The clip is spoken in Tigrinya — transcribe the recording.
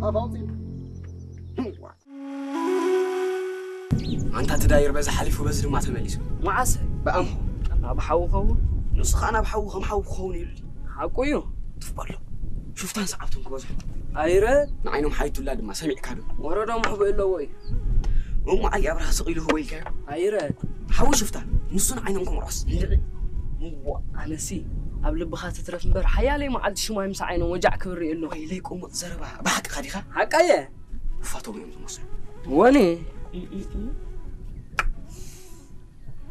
ኣፋውፂ ኣንታ ትዳይር በዚ ሓሊፉ በዚ ድማ ተመሊሱ። መዓሰ? ብኣምሆ። ናብ ሓዊ ኸውን? ንሱ ከዓ ናብ ሓዊ ከም ሓዊ ክኸውን ኢሉ። ሓቁ እዩ። ትፍቀሎ። ሽፍታን ሰዓብቶም ክበዝሑ። ኣይረ? ንዓይኖም ሓይቱላ ድማ ሰሚዕካ ዶ? ወረዶም ሕቡእ ኣለዎ እዩ። እሞ ዓይ ኣብርሃ ስቕ ኢሉ ህቦ ኢልካዮ? ኣይረ? ሓዊ ሽፍታ ንሱ ንዓይኖም ክምዖስ እንድዒ። እሞ ኣነሲ ኣብ ልብኻ ትትረፍ እምበር ሓያለይ መዓልቲ ሽማይ ምስ ዓይኖም ወጃዕ ክብር ኣለኹ። ወይለይ ቁሙጥ ዘረባ ብሓቅኻ ዲኻ? ሓቃየ። ውፋቶም እዮም ዝመስሉ። ወኔ?